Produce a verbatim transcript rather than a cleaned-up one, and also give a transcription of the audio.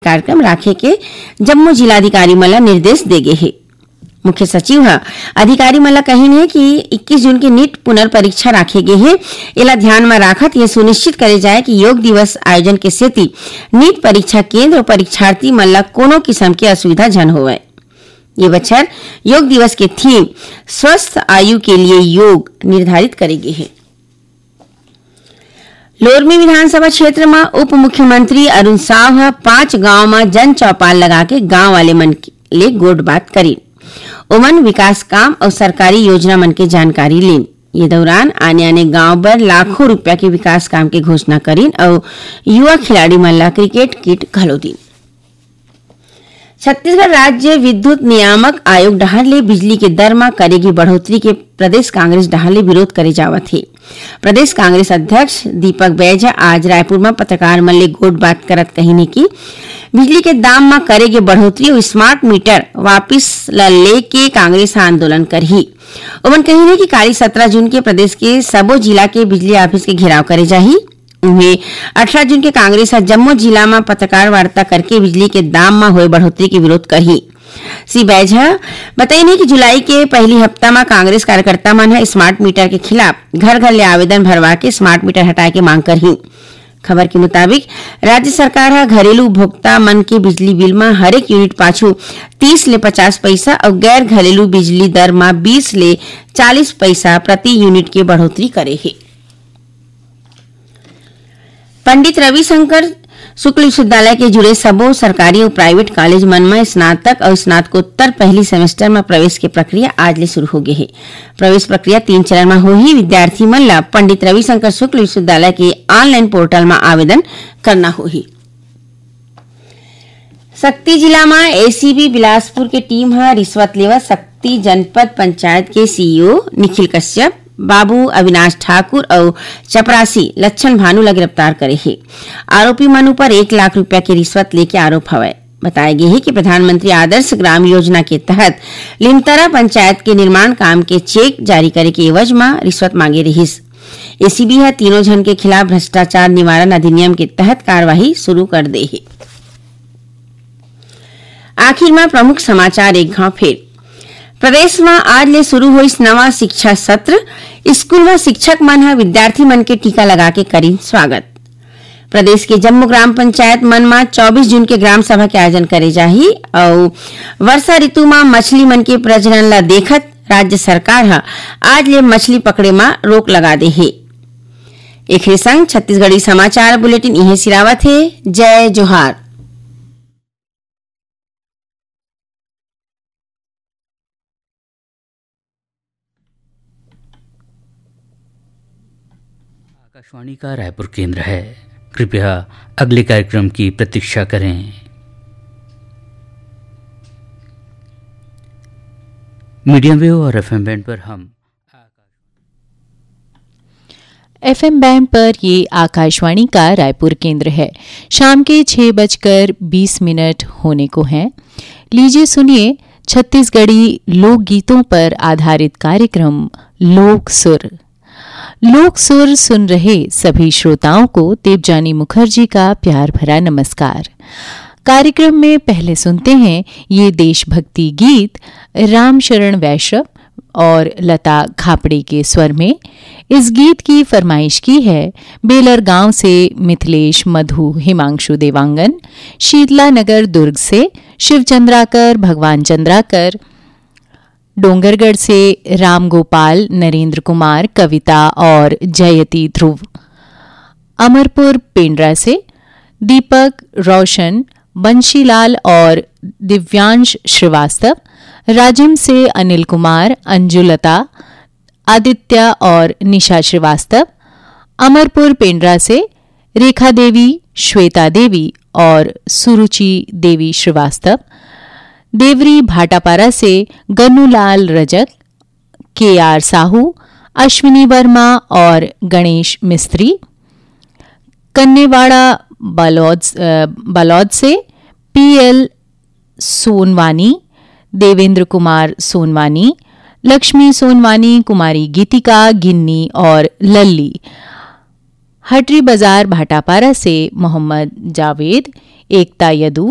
कार्यक्रम राखे के जम्मो जिलाधिकारी मन ला निर्देश दे गे हे। मुख्य सचिव ह अधिकारी मन ला कहिन हे कि इक्कीस जून के नीट पुनर्परीक्षा राखे गे हे। एला ध्यान म राखत ये सुनिश्चित करे जाए कि योग दिवस आयोजन के सेती नीट परीक्षा केंद्र अउ परीक्षार्थी मन ला कोनो किसम के असुविधा झन होवय। ये बछर योग दिवस के थीम स्वस्थ आयु के लिए योग निर्धारित करे गे हे। लोरमी विधानसभा क्षेत्र म उप मुख्यमंत्री अरुण साव ह पांच गांव म जन चौपाल लगा के गांव वाले मन के, ले गोठ बात करिन। ओमन विकास काम अउ सरकारी योजना मन के जानकारी लीन। ये दौरान आने-आने गांव बर लाखों रुपया के विकास काम के घोषणा करिन अउ युवा खिलाड़ी मन ला क्रिकेट किट घलो दीन। छत्तीसगढ़ राज्य विद्युत नियामक आयोग डहार ले बिजली के दर म करे गे बढ़ोतरी के प्रदेश कांग्रेस डहार ले विरोध करे जावत हे। प्रदेश कांग्रेस अध्यक्ष दीपक बैज ह आज रायपुर म पत्रकार मन ले गोठ बात करत कहिन हे कि बिजली के दाम म करे गे बढ़ोतरी अउ स्मार्ट मीटर वापिस ल लेके कांग्रेस ह आंदोलन करही। ओमन कहिन हे कि काली सत्रह जून के प्रदेश के सबो जिला के बिजली ऑफिस के घेराव करे जाही। उहें, अठारह जून के कांग्रेस ह जम्मो जिला म पत्रकार वार्ता करके बिजली के दाम म होए बढ़ोतरी के विरोध करही। श्री बैज ह बताइन हे कि जुलाई के पहली हफ्ता म कांग्रेस कार्यकर्ता मन ह स्मार्ट मीटर के खिलाफ घर-घर ले आवेदन भरवा के स्मार्ट मीटर हटाए के मांग करही। खबर के मुताबिक, राज्य सरकार ह घरेलू उपभोक्ता मन के बिजली बिल म हरेक यूनिट पाछू तीस ले पचास पइसा अउ गैर घरेलू बिजली दर म बीस ले चालीस पइसा प्रति यूनिट के बढ़ोतरी करे हे। पंडित रविशंकर शुक्ल विश्वविद्यालय के जुड़े सबो सरकारी अउ प्राइवेट कॉलेज मन म स्नातक अउ स्नातकोत्तर पहली सेमेस्टर म प्रवेश के प्रक्रिया आज ले शुरू हो गे हे। प्रवेश प्रक्रिया तीन चरण म होही। विद्यार्थी मन ल पंडित रविशंकर शुक्ल विश्वविद्यालय के ऑनलाइन पोर्टल म आवेदन करना होही। सक्ती जिला म एसीबी बिलासपुर के टीम ह रिश्वत लेवत सक्ती जनपद पंचायत के सीईओ निखिल कश्यप, बाबू अविनाश ठाकुर अउ चपरासी लक्षण भानु ल गिरफ्तार करे हे। आरोपी मन ऊपर एक लाख रुपया के रिश्वत लेके आरोप हवय। बताय गे हे कि प्रधानमंत्री आदर्श ग्राम योजना के तहत लिमतरा पंचायत के निर्माण काम के चेक जारी करे के एवज म रिश्वत मांगे रिहिस। एसीबी ह तीनों झन के खिलाफ भ्रष्टाचार निवारण अधिनियम के तहत कार्रवाई शुरू कर दे हे। आखिर म प्रमुख समाचार एक घाव फेर। प्रदेश म आज ले शुरू होइस नवा शिक्षा सत्र। स्कूल म शिक्षक मन ह विद्यार्थी मन के टीका लगा के करिन स्वागत। प्रदेश के जम्मो ग्राम पंचायत मन म चौबीस जून के ग्राम सभा के आयोजन करे जाही अउ वर्षा ऋतु म मछली मन के प्रजनन ल देखत राज्य सरकार ह आज ले मछली पकड़े म रोक लगा दे हे। एखरे संग छत्तीसगढ़ी समाचार बुलेटिन इहें सिरावत हे। जय जोहार। आकाशवाणी का रायपुर केंद्र है। कृपया अगले कार्यक्रम की प्रतीक्षा करें। मीडियम वेव और एफएम बैंड पर हम एफएम बैंड पर ये आकाशवाणी का रायपुर केंद्र है। शाम के छह बजकर बीस मिनट होने को हैं। लीजिए सुनिए छत्तीसगढ़ी लोकगीतों पर आधारित कार्यक्रम लोक सुर। लोक सुर सुन रहे सभी श्रोताओं को देवजानी मुखर्जी का प्यार भरा नमस्कार। कार्यक्रम में पहले सुनते हैं ये देशभक्ति गीत रामशरण वैश्य और लता खापड़े के स्वर में। इस गीत की फरमाइश की है बेलर गांव से मिथिलेश, मधु, हिमांशु देवांगन, शीतला नगर दुर्ग से शिव चंद्राकर, भगवान चंद्राकर, डोंगरगढ़ से राम गोपाल, नरेंद्र कुमार, कविता और जयती ध्रुव। अमरपुर पेंड्रा से दीपक, रोशन, बंशीलाल और दिव्यांश श्रीवास्तव, राजिम से अनिल कुमार, अंजुलता, आदित्य और निशा श्रीवास्तव, अमरपुर पेंड्रा से रेखा देवी, श्वेता देवी और सुरुचि देवी श्रीवास्तव, देवरी भाटापारा से गन्नूलाल रजक, केआर साहू, अश्विनी वर्मा और गणेश मिस्त्री, कन्नेवाड़ा बालोद, अ, बालोद से पीएल सोनवानी, देवेंद्र कुमार सोनवानी, लक्ष्मी सोनवानी, कुमारी गीतिका, गिन्नी और लल्ली। हटरी बाजार भाटापारा से मोहम्मद जावेद, एकता यदु,